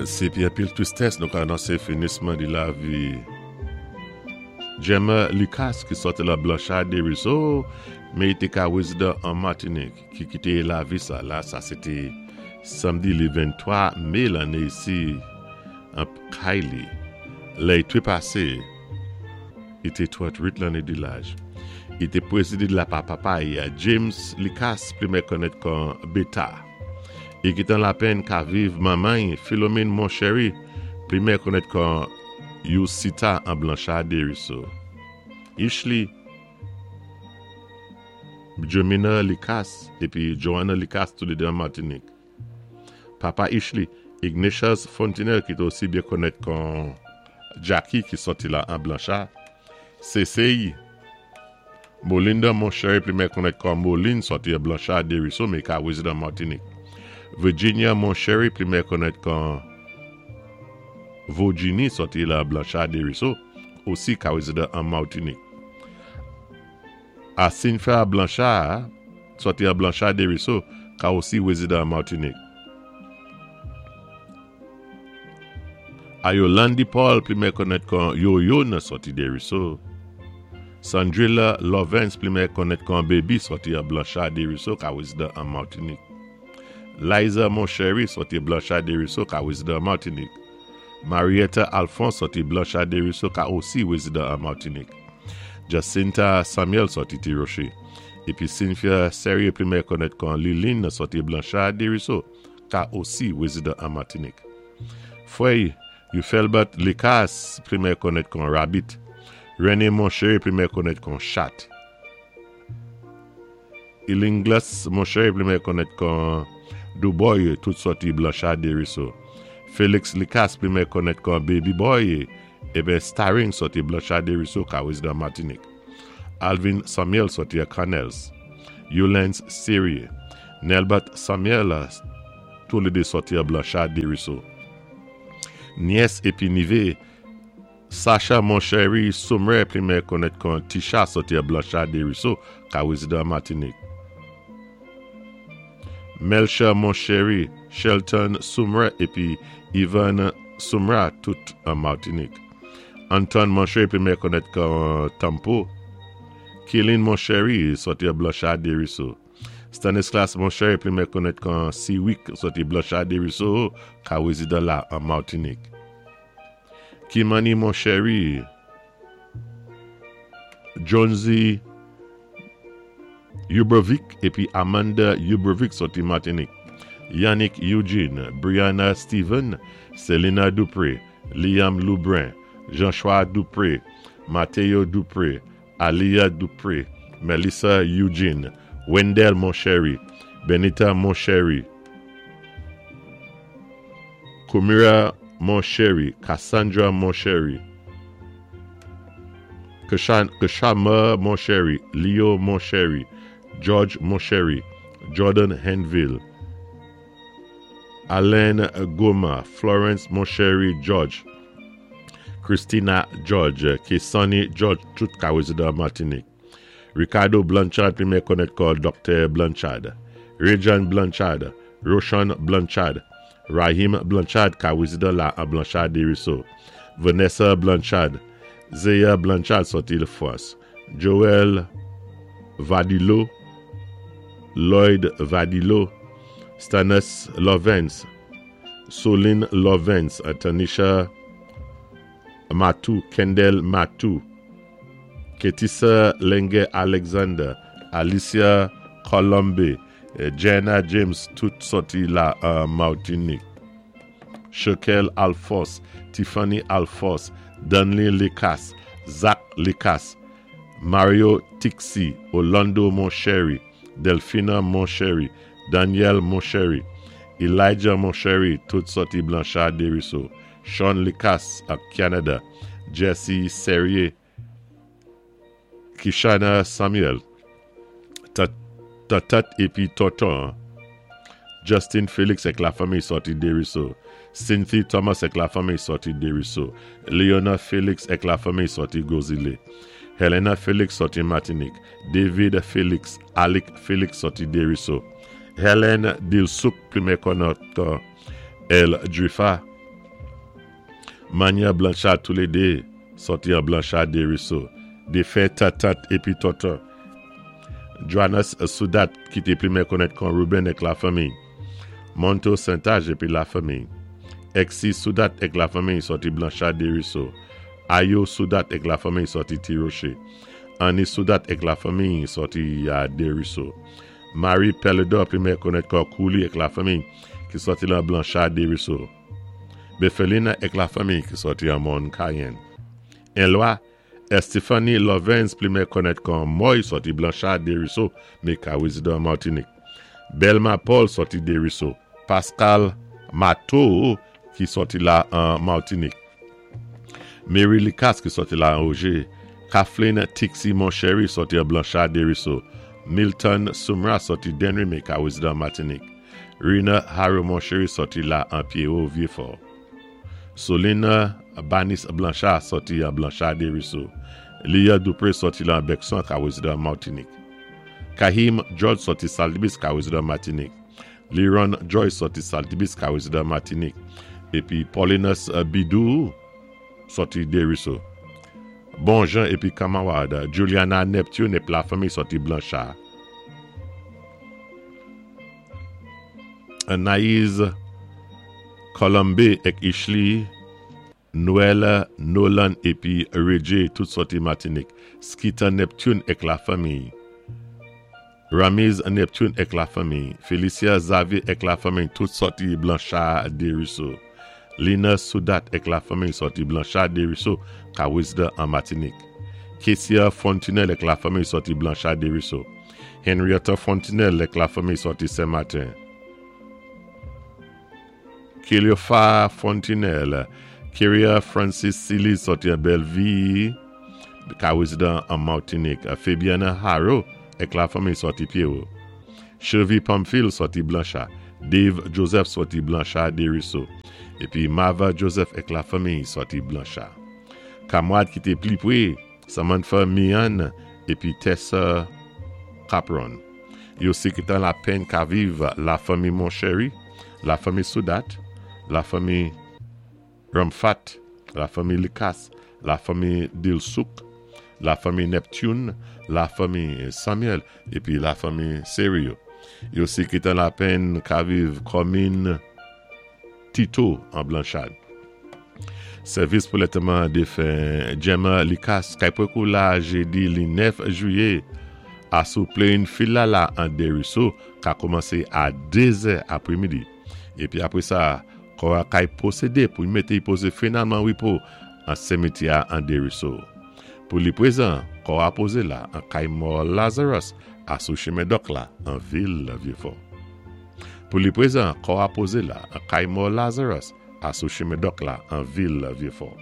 Sé épi anpil twistès nou ka anonsé finisman di lavi Gemma Lucas ki sòti lan Blanchard Desruisseaux men i té ka rézidan an Matinik ki kité lavi sa la sa sé té samdi li 23 mé lanné isi an kay li lè i trépasé I té 38 lanné di laj. I té pwésédé la pa papa i, James Lucas pli mè konnèt kon Beta. I kitan lapenn ka viv manman i, Philomene Monchery, pli mè konnèt kon Yousita an Blanchard Desruisseaux. Ishly Jomina Lucas épi Joanna Lucas toulédé an Matinik. Papa Ishly, Ignatius Fontenelle ki té osi byen konnèt kon Jacky ki sòti la an Blanchard, Sesey, Molinda Monchery pli mè konnèt kon Moline sòti an Blanchard Desruisseaux men ka rezidan Martinique. Virginia Monchery pli mè konnèt kon Virginie sòti la Blanchard Desruisseaux osi ka rezidan an Martinique. Asinfa Blanchard, sòti an Blanchard Desruisseaux, ka osi rezidan an Martinique. A Yolandi Paul, pli mè konnèt kon Yoyo nan sòti Desruisseaux. Sandrilla Lovens, pli mè konnèt kon Baby, sòti an Blanchard Desruisseaux, ka rezidan an Martinique. Liza Monchery, sòti Blanchard Desruisseaux, ka rezidan an Martinique. Marietta Alphonse sòti Blanchard Desruisseaux ka osi rezidan an Martinique. Jacinta Samuel sòti Ti Roche. Épi Cynthia Serrier pli mè konnèt kon Liline sòti Blanchard Desruisseaux ka osi rezidan an Martinique. Frè Euphelbert Lucas pli mè konnèt kon Rabbit. René Monchery pli mè konnèt kon Chat. Ilingles Monchery pli mè konnèt kon Douboy tout sòti Blanchard Desruisseaux. Félix Lucas pli mè konnèt kon Baby Boy eben Starring sòti Blanchard Desruisseaux ka rezidan Martinique. Alvin Samuel sòti a Canels. Eulens Serie. Nelbert Samuel toulédé sòti a Blanchard Desruisseaux. Nyès épi nivé Sacha Monchery Sommer pli mè konnèt kon Tisha sòti a Blanchard Desruisseaux ka rezidan Matinik. Melcher Monchery, Shelton Sumre épi Ivan Sumra tout an Martinik. Anton Monchery pli mè konnèt kon Tampo. Kilin Monchery sòti a Blanchard Desruisseaux. Stanislas Monchery pli mè konnèt kon Siwick sòti Blanchard Desruisseaux ka rezidan la an Martinik. Kimani Monchery, Jonesy Ubervic épi Amanda Ubervic sòti Martinique, Yannick Eugene, Brianna Steven, Selina Dupré, Liam Loubrun, Jean-Choix Dupré, Mateo Dupré, Aliyah Dupré, Melissa Eugene, Wendell Monchery, Benita Monchery, Kumira Monchery, Cassandra Monchery, Kshama Monchery, Leo Monchery, George Monchery, Jordan Henville, Alain Goma, Florence Monchery George, Christina George, Kesani George, tout ka rezidan Martinique. Ricardo Blanchard pli mè konnèt kon Doktè Blanchard. Rajan Blanchard, Roshan Blanchard, Rahim Blanchard ka rezidan la an Blanchard Desruisseaux. Vanessa Blanchard, Zeya Blanchard sòti Lafrans. Joel Vadillo, Lloyd Vadillo, Stanus Lovens, Soline Lovens, Tanisha Matou, Kendall Matou, Ketissa Lenge Alexander, Alicia Colombe, Jenna James tout sòti la an Martinique. Shekel Alphonse, Tiffany Alphonse, Danley Lucas, Zach Lucas, Mario Tixi, Orlando Monchery, Delphina Monchery, Daniel Monchery, Elijah Monchery tout sòti Blanchard Desruisseaux, Sean Lucas ak Canada, Jesse Serrier, Kishana Samuel, Tatat épi Tonton, Justin Felix ak lafanmi sòti Desruisseaux, Cynthie Thomas ak lafanmi sòti Desruisseaux, Leona Felix ak lafanmi sòti Gros Islet, Helena Felix sòti Martinique, David Felix, Alec Felix sòti Desruisseaux, Helen Dilsouk pli mè konnèt kon El Drifa. Manyè Blanchard toulédé sòti an Blanchard Desruisseaux, défen tantant épi tonton. Joannes Soudat ki té pli mè konnèt kon Ruben èk lafanmiy. Monto Saintage épi lafanmiy. Exy Soudat èk lafanmiy sòti Blanchard Desruisseaux. Ayo Soudat èk lafanmiy sòti Ti Roche. Annie Soudat èk lafanmiy sòti Desruisseaux. Marie Pelledor pli mè konnèt kon Kouli èk lafanmiy ki sòti lan Blanchard Desruisseaux. Befelina èk lafanmiy ki sòti an Mòn Cayenne. Enlwa, Estephanie Lovens pli mè konnèt kon Mòy sòti Blanchard Desruisseaux mé ka wézidan Martinique. Belma Paul sòti Desruisseaux. Pascal Matteau ki sòti la an Martinique. Mary Lucas ki sòti la an Ogé. Kathleen Tixi Monchery sòti an Blanchard Desruisseaux. Milton Sumra sòti Dennery mé ka wézidan Martinique. Rina Harrow Monchery sòti la an Pierrot Vieux-Fort. Solina Banis Blanchard sòti an Blanchard Desruisseaux. Lia Dupré sòti lan Bèkson ka wézidan Martinique. Kahim George sòti Saltibis ka wézidan Martinique. Liron Joyce sòti Saltibis ka wézidan Martinique. Épi Paulinus Bidou sòti Desruisseaux. Bon Jean épi Kamawad Juliana Neptune ép lafanmi sòti Blanchard. Anaïse Colombe èk Ishly Noël Nolan épi Reggie tout sòti Matinik. Skitan Neptune èk lafanmiy. Ramiz Neptune èk lafanmiy. Felicia Xavier èk lafanmiy tout sòti Blanchard Desruisseaux. Lina Soudat èk lafanmiy sòti Blanchard Desruisseaux ka wézidan an Matinik. Ketia Fontinelle èk lafanmiy sòti Blanchard Desruisseaux. Henrietta Fontinelle èk lafanmiy sòti Sen Maten. Keliofa Fontinelle, Keria Francis Siliz sòti an Bèlvi, ka rezidan an Martinik. Fabiana Harrow èk lafanmiy sòti Pyero. Chevy Pamphile sòti Blancha. Dave Joseph sòti Blancha Desruisseaux. Épi Mava Joseph èk lafanmiy sòti Blancha. Kamwad ki té pli pwé Samantha Meehan épi Tessa Capron. Yo sikitan lapenn ka viv lafanmi Monchery, lafanmi Soudat, lafanmi Ramfat, lafanmi Lucas, lafanmi Dilsouk, lafanmi Neptune, lafanmi Samuel épi lafanmi Serio. Yo sikitan lapenn ka viv kòmin Tito an Blanchard. Sèvis pou lèteman defen Gemma Lucas kay pwekou la jedi li 9 jiyé a sou Plain Filala an Desruisseaux ka koumanse a 2 zè apremidi. Epi apre sa, kò a kay pwosede pou y mete y poze finalman repo an semityè a an Desruisseaux. Pou li prezan, kò a poze la an kay mò Lazarus a sou chemen Dòk la an vil Vyefò. Pou li prezan, kò a poze la an kay mò Lazarus a sou chemen Dòk la an vil Vyefò.